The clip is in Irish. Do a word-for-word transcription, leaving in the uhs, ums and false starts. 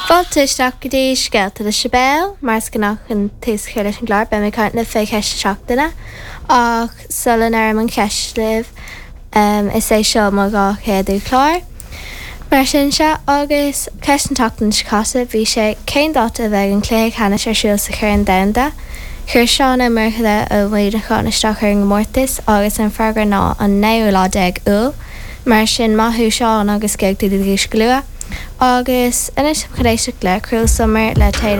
Fáilte isteach go dtí Scéalta le Sibéal, mar is gnách chun tús a chur leis an gclár beidh mé ag caint libh fé cheist na seachtaine ach sula ndeirim an cheist libh um, is é seo mo dhá chéadú chlár. Mar sin se agus ceist an tseachtain seo caite bhí sé cén dáta a bheidh an cluiche ceannais ar siúl sa Chorn Domhanda. Chuir Seán Ó Murchadha ó Mhuineachán isteach ar an gcomórtas agus an freagra ná an naoú lá déag Iúil, mar sin maith thú Seán agus gheobhaidh tú do dhuais go luath. Agus anois chun éisteacht le Cruel Summer le Taylor